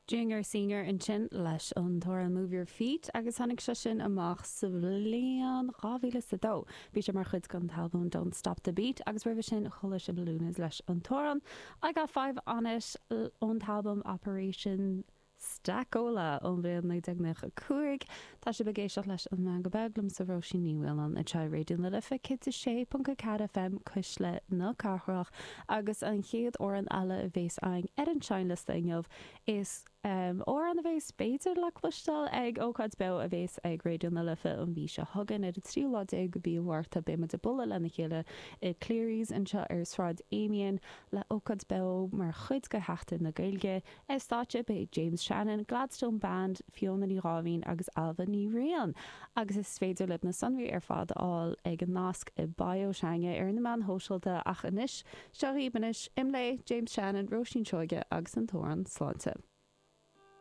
Junior Senior ansin leis an t-amhrán Move Your Feet agus tháinig sé sin amach sa bhliain 2002. Bhí sé mar chuid den t-albam Don't Stop the Beat agus roimhe sin chuala sibh Luniz leis an t-amhrán I Got 5 On It ón t-albam Operation Stackola ón bhliain 1995. Tá sibh ag éisteacht leis An Meangadh Beag liomsa Róisín Ní Mhaoláin anseo ar Raidió na Life 106.4 FM, Cuisle na Cathrach agus an chéad amhrán eile a bhéas againn ar an seinnliosta inniu is amhrán a bhéas b'fhéidir le cloisteáil ag ócáid beo a bhéas ag Raidió na Life an mhí seo chugainn ar an tríú lá déag de mhí an Mhárta. Beidh muid ag bualadh lena chéile i Cleary's anseo ar Sráid Amiens le ócáid beo mar chuid de Sheachtain na Gaeilge. Ar stáitse beidh James Shannon, Gladstone Band, Fiona Ní Dháimhín agus Ailbhe Ní Riain agus is féidir libh na sonraí ar fad a fháil ag an nasc i bio s'againne ar na meáin shóisialta ach anois, seo dhaoibh anois, Imlé, James Shannon, Róisín Seoige agus an t-amhrán Sláinte.